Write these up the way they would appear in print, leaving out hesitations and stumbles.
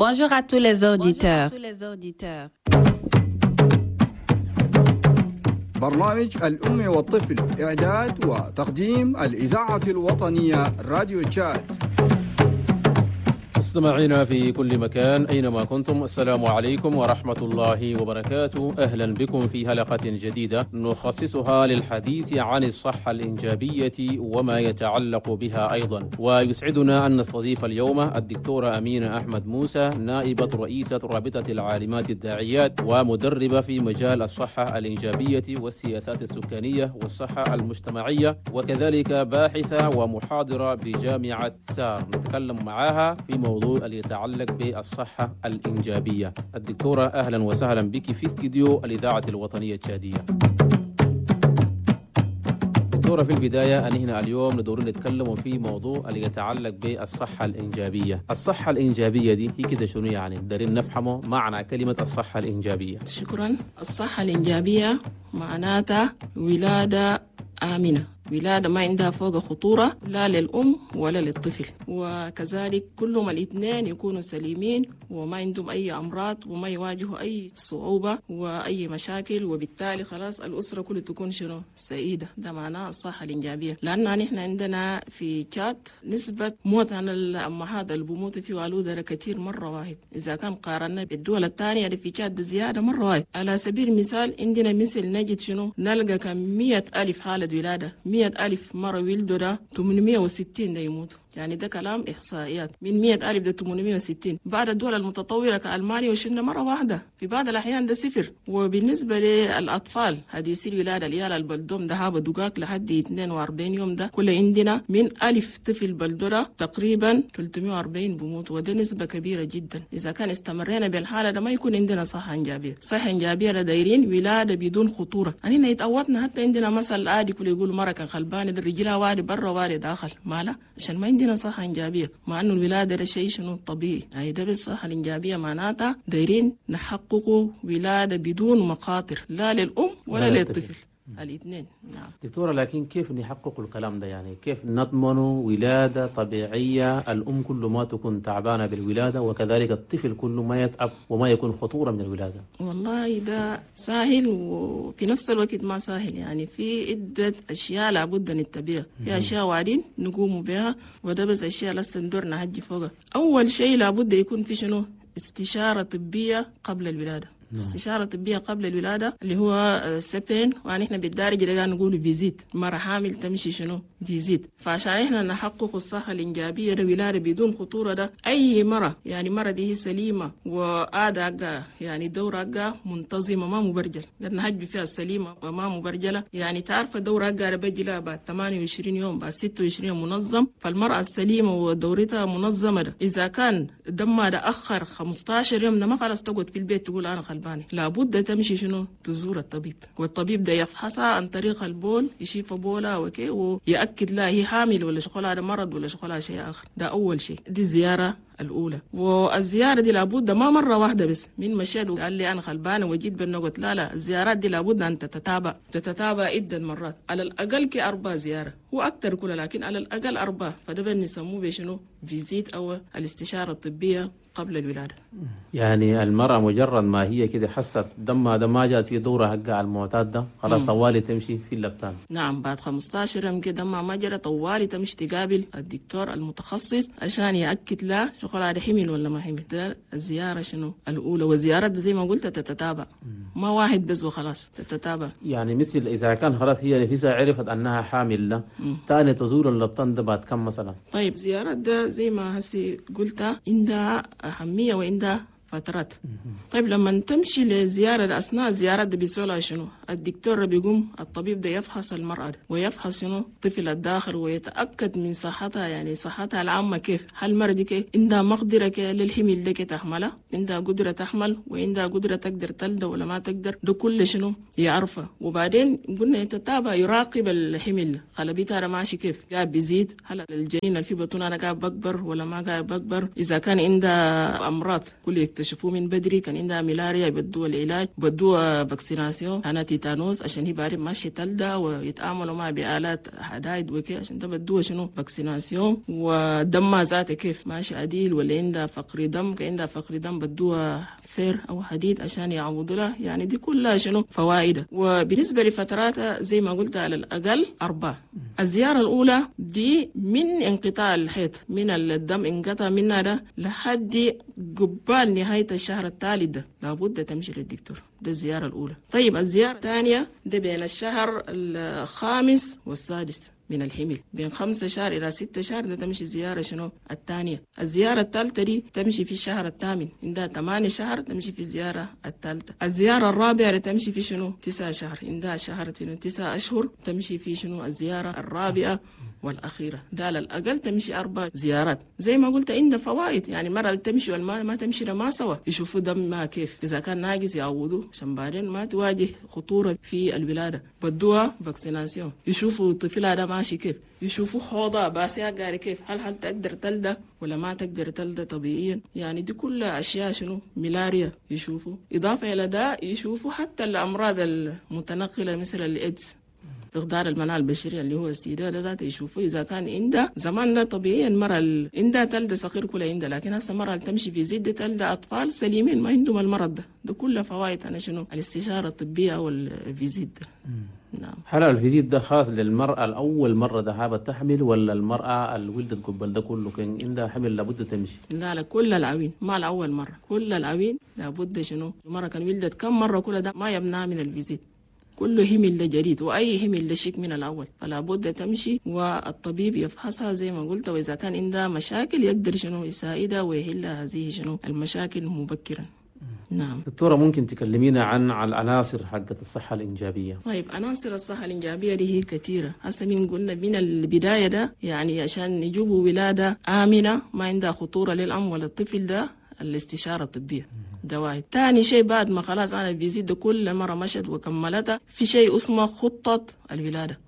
Bonjour à tous les auditeurs. برنامج الأم والطفل، إعداد وتقديم الإذاعة الوطنية راديو تشاد. مستمعينا في كل مكان أينما كنتم، السلام عليكم ورحمة الله وبركاته. أهلا بكم في حلقة جديدة نخصصها للحديث عن الصحة الإنجابية وما يتعلق بها أيضا. ويسعدنا أن نستضيف اليوم الدكتورة أمينة أحمد موسى، نائبة رئيسة رابطة العالمات الداعيات ومدربة في مجال الصحة الإنجابية والسياسات السكانية والصحة المجتمعية، وكذلك باحثة ومحاضرة بجامعة سار. نتكلم معها في موضوع اللي يتعلق بالصحة الإنجابية. الدكتورة أهلا وسهلا بك في استديو الإذاعة الوطنية التشادية. دكتورة، في البداية أن هنا اليوم ندور نتكلم في موضوع اللي يتعلق بالصحة الإنجابية. الصحة الإنجابية دي هي كده شنو يعني؟ دارين نفهمه معنى كلمة الصحة الإنجابية. شكرا. الصحة الإنجابية معناتها ولادة آمنة، ولادة ما عندها فوق خطورة لا للأم ولا للطفل، وكذلك كلهم الاثنين يكونوا سليمين وما عندهم أي أمراض وما يواجهوا أي صعوبة وأي مشاكل، وبالتالي خلاص الأسرة كلها تكون شنو سعيدة. ده معناه الصحة الإنجابية. لأن نحن عندنا في تشاد نسبة موت عن الأمهات اللي بموتوا في والودة كثير مرة واحد، إذا كان قارنا بالدول الثانية اللي في تشاد زيادة مرة واحد. على سبيل المثال عندنا مثل نجد شنو نلقى كم 100,000 حالة ولادة، 100,000 مرة ولدوا ده 860 ده يموتوا. يعني ده كلام إحصائيات، من 100,000 ده 860. بعد الدول المتطورة كألمانيا وشلنا مرة واحدة، في بعض الأحيان ده صفر. وبالنسبة للأطفال حديثي الولادة العيال البلدوم ده هابا دقاق لحد 42 يوم، ده كل عندنا من 1000 طفل بلدورة تقريبا 340 بموت، وده نسبة كبيرة جدا. إذا كان استمرينا بالحالة ده ما يكون عندنا صحة إنجابية. صحة إنجابية دايرين ولادة بدون خطورة. أننا يتعودنا حتى عندنا مثل عادي كل يقول مرة كان خلبان ده رجلها وارد برا وارد داخل ماله، عشان ما عندنا صحة إنجابية، مع أنه الولادة ده شيء شنو طبيعي. يعني ده بالصحة الإنجابية معناتها دايرين نحققوا ولادة بدون مخاطر لا للأم ولا للطفل، الاثنين. نعم دكتورة، لكن كيف نحقق الكلام ده؟ يعني كيف نضمن ولادة طبيعية، الأم كل ما تكون تعبانة بالولادة وكذلك الطفل كل ما يتعب وما يكون خطورة من الولادة؟ والله ده سهل وفي نفس الوقت ما سهل. يعني في عدة أشياء لابد نتبعها، في أشياء وعدين نقوم بها، وده بس أشياء لسه ندور نهجي فوقها. أول شيء لابد يكون في شنو استشارة طبية قبل الولادة. استشارة طبية قبل الولادة اللي هو CPN، ونحن بالدارجة اللي نقول visite. مرة حامل تمشي شنو visite. فعشان احنا نحقق الصحة الإنجابية ده ولادة بدون خطورة، ده أي مرة يعني مرة دي هي سليمة وآداء يعني دورة منتظمة ما مبرجل، لأن هجب فيها السليمة وما مبرجلة. يعني تعرف دورة بجي لها بعد 28 يوم بعد 26 يوم منظم. فالمرأة السليمة ودورتها منظمة ده إذا كان دمها ده أخر 15 يوم ده ما خلاص تقعد في البيت تقول أنا خلبانة، لابد تمشي شنو تزور الطبيب، والطبيب ده يفحصها عن طريق البول، يشوف بولها وكي ويأكد لها هي حامل ولا شغلها ده مرض ولا شغلها شيء آخر. ده أول شيء، دي الزيارة الأولى. والزيارة دي لابد ما مرة واحدة بس من مشيت وقال لي أنا خلبانة وجيت بالنقط، لا لا، الزيارات دي لابد أن تتتابع عدة مرات، على الأقل كي 4 زيارة، هو أكثر كله لكن على الأقل 4. فده بنسموه بشنو visite أو الاستشارة الطبية قبل الولادة. يعني المرأة مجرد ما هي كده حست دمها ده ما جات في دورة حقها المعتاد ده خلاص طوالي تمشي في اللبتان. نعم، بعد 15 يوم كده دمها ما جرى طوالي تمشي تقابل الدكتور المتخصص عشان يأكد لها شغل هذا حمل ولا ما حمل. ده الزيارة شنو الأولى، والزيارة زي ما قلت تتتابع، ما واحد بس وخلاص، تتتابع. يعني مثل إذا كان خلاص هي نفسها عرفت أنها حامل ده تاني تزور اللبتان ده بعد كم مثلا؟ طيب زيارة ده زي ما هسي قلت عندها أهمية وعندها فترات. طيب لما تمشي لزيارة أثناء الزيارة ده بيسألها شنو الدكتور بيقوم الطبيب ده يفحص المرأة ويفحص شنو الطفل الداخل ويتأكد من صحتها، يعني صحتها العامة كيف، هل المرأة دي كيف عندها مقدرة للحمل ده تحملها، عندها قدرة تحمل وعندها قدرة تقدر تلد ولا ما تقدر، ده كل شنو يعرفه. وبعدين قلنا يتتابع يراقب الحمل، خلبيتها ماشي كيف، قاعد بيزيد، هل الجنين اللي في بطنها قاعد بكبر ولا ما قاعد بكبر، إذا كان عندها أمراض كل يكتشفوه من بدري. كان عندها ملاريا بدوها العلاج، بدوها vaccination هنا تيتانوس عشان هي بعدين ماشية تلدى ويتعاملوا معها بآلات حدايد وكي، عشان ده بدوها شنو vaccination. ودمها ذاته كيف ماشي عديل ولا عندها فقر دم، كان عندها فقر دم بدوها fer أو حديد عشان يعوضوا لها. يعني دي كلها شنو فوائد. وبالنسبة لفتراتها زي ما قلت على الأقل 4. الزيارة الأولى دي من انقطاع الحيض، من الدم انقطع منها ده لحد قبال نهاية الشهر الثالث ده لابد تمشي للدكتور، ده الزيارة الأولى. طيب الزيارة الثانية ده بين الشهر الخامس والسادس من الحمل، بين 5 شهر إلى 6 شهر ده تمشي زيارة شنو الثانية. الزيارة الثالثة دي تمشي في الشهر الثامن، عندها 8 شهر تمشي في الزيارة الثالثة. الزيارة الرابعة تمشي في شنو 9 شهر، عندها شهر 9 أشهر تمشي في شنو الزيارة الرابعة والأخيرة. ده على الأقل تمشي 4 زيارات. زي ما قلت عندها فوائد، يعني مرة تمشي والما ما تمشي ما سوا، يشوفوا دمها كيف، إذا كان ناقص يعوضوه عشان بعدين ما تواجه خطورة في الولادة. بدوها vaccination، يشوفوا طفلها ده ماشي كيف، يشوفوا حوضها باسيها قاري كيف، هل تقدر تلدى ولا ما تقدر تلدى طبيعيا. يعني دي كلها أشياء شنو ملاريا يشوفوا. إضافة إلى ده يشوفوا حتى الأمراض المتنقلة مثل الإيدز، فقدان المناعة البشرية اللي هو السيدة ده ذاته يشوفوا إذا كان عندها. زمان ده طبيعي المرأة عندها تلدى صغير كلها عندها، لكن هسه المرأة تمشي في زيد تلدى أطفال سليمين ما عندهم المرض ده. ده كله فوائد أنا شنو الاستشارة الطبية أو ال visite ده. نعم. هل ال visite ده خاص للمرأة الأول مرة ذهابت تحمل ولا المرأة اللي ولدت قبل ده كله كان عندها حمل لابد تمشي؟ لا لا، كل العوين، ما الأول مرة، كل العوين لابد شنو المرأة كان ولدت كم مرة كل ده ما يمنع من ال visite. كله همل لجديد وأي همل لشك من الأول، فلا بد تمشي والطبيب يفحصها زي ما قلت، وإذا كان عندها مشاكل يقدر شنو يساعدها ويحل هذه شنو المشاكل مبكرا. نعم. دكتورة ممكن تكلمينا عن العناصر حقت الصحة الإنجابية؟ طيب عناصر الصحة الإنجابية دي هي كثيرة. هسه من قلنا من البداية ده يعني عشان يجيبوا ولادة آمنة ما عندها خطورة للأم ولا الطفل، ده الاستشارة الطبية ده واحد. تاني شيء بعد ما خلاص أنا visite كل مرة مشت وكملتها، في شيء اسمه خطة الولادة،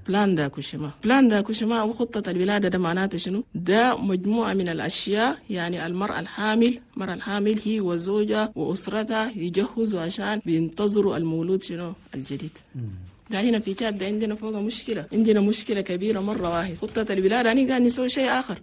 plan d'accouchement. plan d'accouchement أو خطة الولادة ده معناته شنو؟ ده مجموعة من الأشياء، يعني المرأة الحامل، المرأة الحامل هي وزوجها وأسرتها يجهزوا عشان بينتظروا المولود شنو الجديد. ده هنا في تشاد عندنا فوق مشكلة، عندنا مشكلة كبيرة مرة واحد. خطة الولادة أنا قاعد نسوي شيء آخر.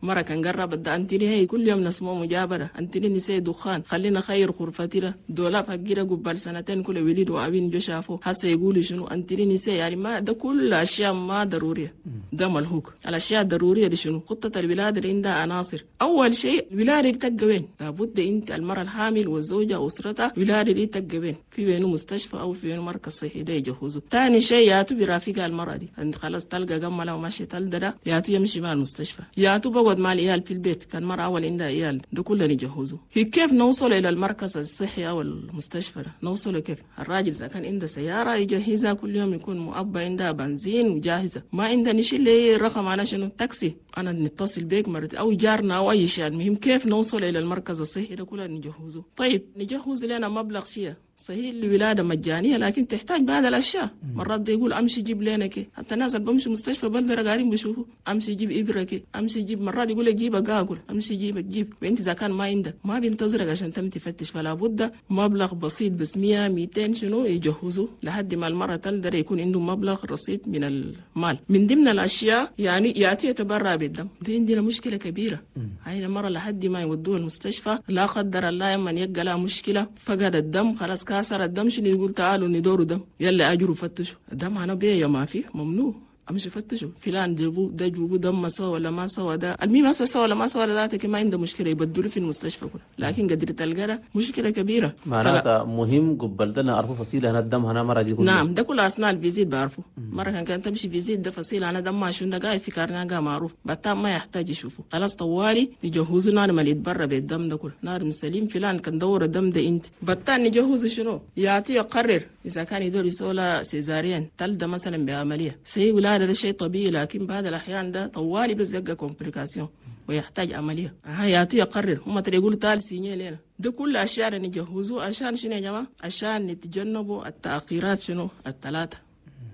مرة كان قرب ده أنتني هي كل يوم نسمو مجابرة، أنتني نسي دخان، خلينا خير غرفتنا دولاب حقيرة قبل سنتين كل وليد وأبين جو شافوه هسه يقولوا شنو أنتني نسي. يعني ما ده كل أشياء ما ضرورية، ده ملهوك. الأشياء الضرورية دي شنو؟ خطة الولادة اللي عندها عناصر. أول شيء الولادة دي تبقى وين؟ لابد أنت المرأة الحامل والزوجة وأسرتها الولادة دي تبقى وين؟ في وينه مستشفى أو في وينه مركز صحي ده يجهزه. ثاني شيء ياتو برافقها المرأة دي، أنت خلاص تلقى قملة وماشي تلدى ده ياتو يمشي مع المستشفى، ياتو بقعد مع العيال في البيت، كان مرة أول عندها عيال ده كله نجهزه. هي كيف نوصل إلى المركز الصحي أو المستشفى ده؟ نوصله كيف؟ الراجل إذا كان عنده سيارة يجهزها كل يوم، يكون مؤبى عندها بنزين وجاهزة، ما عنده نشيل لي رقم على شنو تاكسي، أنا نتصل بيك مرة أو جارنا أو أي شيء. المهم كيف نوصل إلى المركز الصحي ده كله نجهزه. طيب نجهز لنا مبلغ شيء صحيح الولادة مجانية لكن تحتاج بعض الأشياء. مرات ده يقول أمشي جيب لنا كي، حتى الناس اللي بمشي مستشفى بلدرة قاعدين بيشوفوا أمشي جيب إبرة كي، أمشي جيب، مرات يقول لك جيب أقاقل، أمشي جيب جيب، وأنت إذا كان ما عندك ما بينتظرك عشان تم تفتش. فلا بد مبلغ بسيط بس 100 200 شنو يجهزوا لحد ما المرة تقدر يكون عنده مبلغ رصيد من المال. من ضمن الأشياء يعني يأتي يتبرع بالدم، دي عندنا مشكلة كبيرة. هاي المرة لحد ما يودوه المستشفى لا قدر الله يمن يلقى لها مشكلة فقد الدم خلاص كسر الدم، شنو يقول تعالوا ندوروا دم، يلا اجروا فتشوا الدم انا بيه ما فيه ممنوع، امشي فتشوا فلان جابوا ده جابوا دم ما سوى ولا ما سوى ده، المهم هسه سوى ولا ما سوى ذاتك ما عنده مشكلة يبدلوا في المستشفى كله، لكن قدر تلقى مشكلة كبيرة. معناتها مهم قبل ده نعرفوا فصيلة هنا الدم هنا مرة دي كله. نعم ده كله اثناء ال visite بعرفه. مرة كان تمشي visite ده فصيلة انا دم شنو ده قاعد في carnet معروف بتاع ما يحتاج يشوفه خلاص طوالي يجهزوا نار ما يتبرع بالدم ده كله، نار سليم فلان كان دور الدم ده انت بتاع نجهزه شنو يعطي يقرر اذا كان يدور يسولا césarienne تلده مثلا بعملية سي ولا هذا شيء طبيعي، لكن بعض الأحيان ده طوالي بس يبقى complication ويحتاج عملية. يعطي يقرر هم ترى يقولوا تعال signer لنا. ده كل أشياء نجهزه عشان شنو يا جماعة؟ عشان نتجنبوا التأخيرات شنو الثلاثة.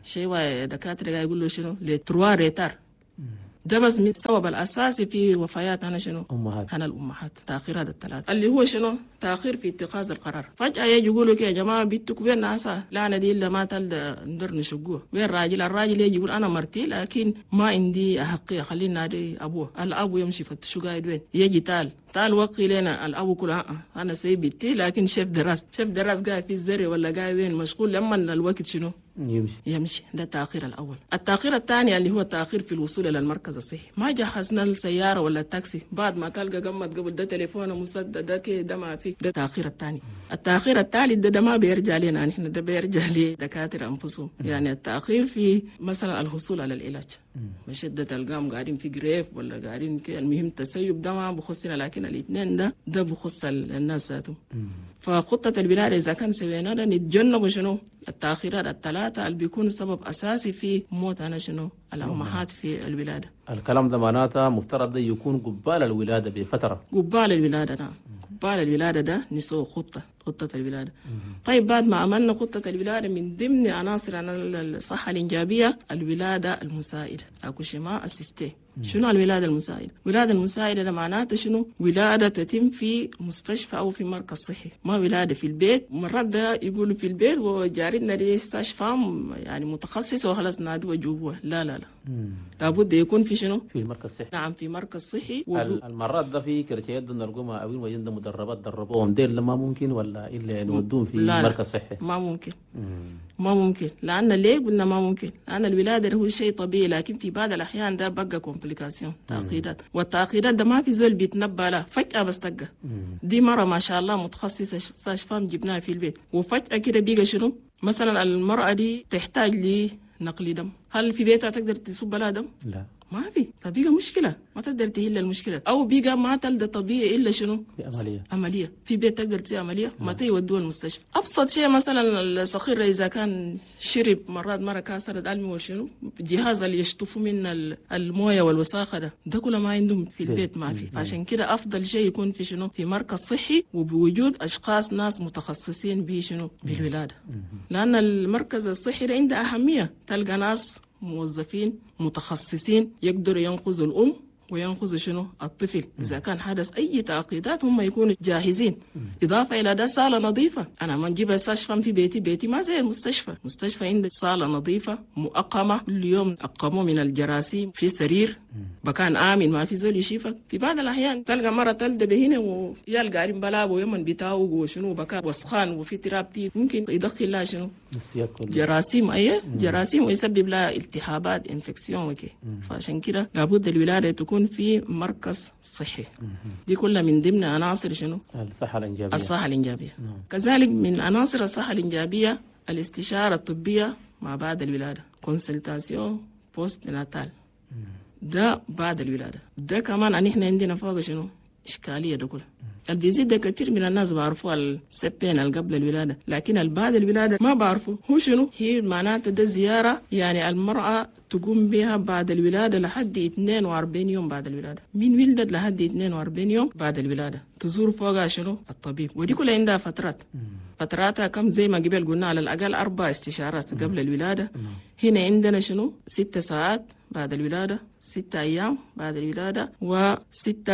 شيء دكاترة يقولوا شنو les trois retards. ده بس من السبب الأساسي في وفيات أنا شنو؟ أمهات. أنا الأمهات، تأخير هذا الثلاثة اللي هو شنو؟ تأخير في اتخاذ القرار. فجأة يجي يقولوا يا جماعة بيتك وين ناسا؟ لا أنا دي إلا ما تلد ندر نشقوه. وين راجل؟ الراجل يجي يقول أنا مرتي لكن ما عندي أحقية، خلينا نادي أبوه. الأبو يمشي فتشو قاعد وين؟ يجي تعال وقي لنا الأبو كله أنا سيب بيتي لكن شيف دراس قاعد في الزري ولا قاعد وين مشغول، لما الوقت شنو؟ يمشي. ده التأخير الأول. التأخير الثاني اللي هو التأخير في الوصول إلى المركز الصحي. ما جهزنا السيارة ولا التاكسي، بعد ما تلقى قمت قبل ده تليفونه مسدد ده كده ما في، ده التأخير الثاني. التأخير الثالث ده ما بيرجع لنا نحن، ده بيرجع لدكاترة أنفسهم. يعني التأخير في مثلا الحصول على العلاج، مش ده تلقاهم قاعدين في جريف ولا قاعدين كده، المهم التسيب ده ما بخصنا، لكن الاثنين ده بخص الناس ذاتهم. فخطة الولادة إذا كان سوينا ده نتجنب شنو التأخيرات الثلاثة اللي بيكون سبب أساسي في موت أنا شنو الأمهات في الولادة. الكلام ده معناته مفترض ده يكون قبال الولادة بفترة. قبال الولادة نعم، قبال الولادة ده نسوي خطة الولادة. طيب بعد ما عملنا خطة الولادة، من ضمن عناصر الصحة الإنجابية الولادة المساعدة، accouchement assisté. شنو الولادة المساعدة؟ الولادة المساعدة ده معناته شنو؟ ولادة تتم في مستشفى أو في مركز صحي، ما ولادة في البيت. مرات ده يقولوا في البيت وجارتنا دي sage-femme يعني متخصص وخلاص نادوا جوه. لا لا لا، لابد يكون في شنو؟ في المركز الصحي. نعم، في مركز صحي. المرات ده في كرتيات نرقمها أو وين مدربات دربوهم ديل ما ممكن ولا إلا نودوهم في مركز صحي؟ ما ممكن. ما ممكن، لأن ليه قلنا ما ممكن؟ لأن الولادة هو شيء طبيعي، لكن في بعض الأحيان ده بقى complication، تعقيدات، والتعقيدات ده ما في زول بيتنبأ له، فجأة بس تقى. دي مرة ما شاء الله متخصصة sage-femme جبناها في البيت، وفجأة كده بيقى شنو؟ مثلا المرأة دي تحتاج لنقل دم، هل في بيتها تقدر تصب لها دم؟ لا، ما في، فبيقى مشكلة، ما تقدر تهل المشكلة، أو بيقى ما تلد طبيعي إلا شنو؟ عملية. في بيت تقدر تسوي عملية، ما تيودوها المستشفى. أبسط شيء مثلا الصخير إذا كان شرب مرات مرة كسرت ألمي وشنو، جهاز اللي يشطفوا من الموية والوساخة ده كله ما عندهم في البيت، ما في. عشان كده أفضل شيء يكون في شنو؟ في مركز صحي، وبوجود أشخاص ناس متخصصين بشنو؟ بالولادة. لأن المركز الصحي ده عنده أهمية، تلقى ناس موظفين متخصصين يقدروا ينقذوا الأم وينقذوا شنو الطفل. إذا كان حدث أي تعقيدات هم يكونوا جاهزين. إضافة إلى ده صالة نظيفة، أنا ما نجيب sage-femme في بيتي ما زي المستشفى. مستشفى عندك صالة نظيفة مؤقمة، كل يوم أقموا من الجراثيم، في سرير مكان آمن ما في زول يشيفك. في بعض الأحيان تلقى مرة تلد بهنا ويلقى قارين بلاب ويمن بتاوق وشنو بكان وسخان وفي تراب ممكن يدخل لها شنو جراثيم، أيه جراثيم، ويسبب لها التهابات infection وكي. فعشان كده لابد الولادة تكون في مركز صحي. دي كلها من ضمن عناصر شنو؟ الصحة الإنجابية. الصحة الإنجابية. كذلك من عناصر الصحة الإنجابية الاستشارة الطبية مع بعد الولادة، consultation postnatale. ده بعد الولادة. ده كمان أن إحنا عندنا فوق شنو؟ إشكالية ده كله. ال visite ده كثير من الناس بعرفوها ال CPN اللي قبل الولادة، لكن بعد الولادة ما بعرفوا هو شنو هي. معناته ده زيارة يعني المرأة تقوم بها بعد الولادة لحد 42 يوم بعد الولادة، من ولدت لحد 42 يوم بعد الولادة تزور فوقها شنو الطبيب. ودي كلها عندها فترات، فتراتها كم زي ما قبل قلنا على الأقل 4 استشارات قبل الولادة. هنا عندنا شنو 6 ساعات بعد الولادة، 6 أيام بعد الولادة، و6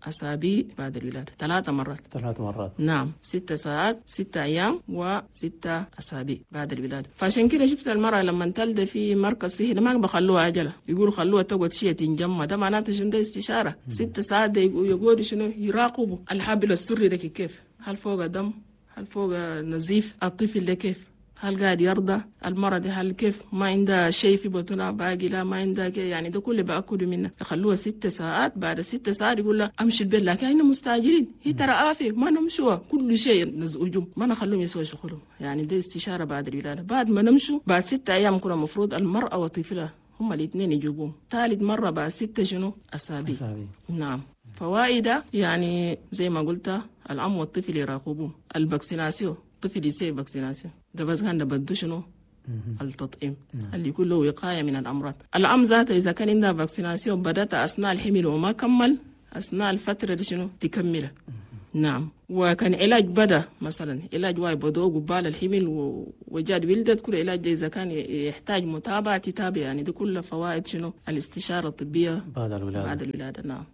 أسابيع بعد الولادة، 3 مرات. 3 مرات نعم، 6 ساعات، 6 أيام، و6 أسابيع بعد الولادة. فعشان كده شفت المرأة لما تلد في مركز صحي ما بخلوها عجلة، يقولوا خلوها تقعد شيء تنجمع، ده معناته شنو؟ ده استشارة. 6 ساعات ده يقعدوا شنو؟ يراقبوا الحبل السري ده كيف، هل فوق دم، هل فوق نزيف، الطفل ده كيف، هل قاعد يرضى المرض، هل كيف ما عندها شيء في بطنها باقي، لا ما عندها يعني ده كله بأكله منه. يخلوها 6 ساعات، بعد 6 ساعات يقول لها امشي البيت، لكن احنا مستعجلين، هي ترى آفة ما نمشوها، كل شيء نزعجهم، ما نخلوهم يسووا شغلهم. يعني ده استشارة بعد الولادة. بعد ما نمشوا بعد 6 أيام كنا المفروض المرأة وطفلها هم الاثنين يجيبوهم. ثالث مرة بعد 6 شنو أسابيع. نعم. فوائد يعني زي ما قلت الأم والطفل يراقبوه. ال vaccination، الطفل يسوي vaccination ده بس كان ده بدو شنو التطعيم اللي يكون له وقاية من الأمراض. الأم ذاته إذا كان عندها vaccination بدأت أثناء الحمل وما كمل أثناء الفترة دي شنو تكملها. نعم. وكان علاج بدا مثلا علاج واي بدو قبال الحمل وجاد ولدت، كل علاج ده إذا كان يحتاج متابعة تتابع. يعني دي كل فوائد شنو الاستشارة الطبية بعد الولادة. بعد الولادة نعم.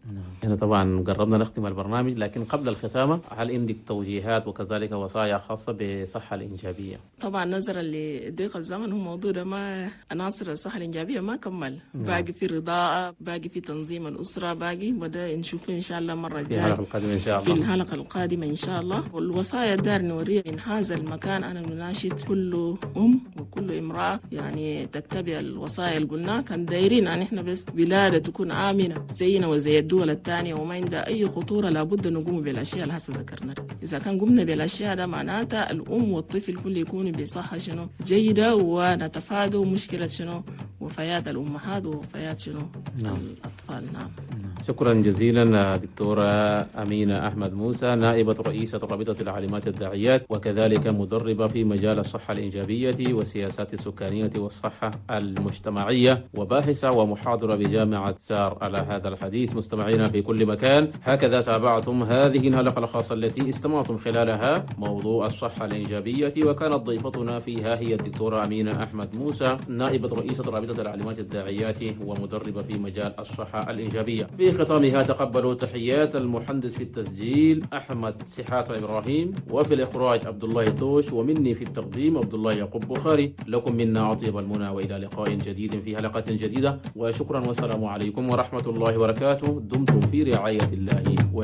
هنا طبعا قربنا نختم البرنامج، لكن قبل الختامة هل عندك توجيهات وكذلك وصايا خاصة بالصحة الإنجابية؟ طبعا نظرا لضيق الزمن هو موضوع ده ما عناصر الصحة الإنجابية ما كمل. نعم. باقي في رضاعة، باقي في تنظيم الأسرة، باقي وده نشوفه إن شاء الله مرة في الجاية الحلقة القادمة إن شاء في الله. الحلقة القادمة إن شاء الله. والوصايا دار نورية من هذا المكان أنا نناشد كل أم وكل امرأة يعني تتبع الوصايا اللي قلناها. كان دايرين أن إحنا بس ولادة تكون آمنة زينا وزي الدول الثانية وما عندها أي خطورة، لابد نقوم بالأشياء اللي هسه ذكرناها. إذا كان قمنا بالأشياء ده معناتها الأم والطفل كل يكونوا بصحة شنو جيدة، ونتفادوا مشكلة شنو وفيات الأمهات ووفيات شنو نعم. الأطفال. نعم. شكرا جزيلا دكتورة أمينة أحمد موسى، نائبة رئيسة رابطة العالمات الداعيات وكذلك مدربة في مجال الصحة الإنجابية والسياسات السكانية والصحة المجتمعية، وباحثة ومحاضرة بجامعة سار. على هذا الحديث مستمعينا في كل مكان، هكذا تابعتم هذه الحلقة الخاصة التي استمعتم خلالها موضوع الصحة الإنجابية، وكانت ضيفتنا فيها هي الدكتورة أمينة أحمد موسى، نائبة رئيسة رابطة العالمات الداعيات ومدربة في مجال الصحة الإنجابية. في ختامها تقبلوا تحيات المهندس في التسجيل أحمد سحات إبراهيم، وفي الإخراج عبد الله توش، ومني في التقديم عبد الله يعقوب بخاري. لكم منا أطيب المنى، وإلى لقاء جديد في حلقة جديدة، وشكرا والسلام عليكم ورحمة الله وبركاته. دمتم في رعاية الله.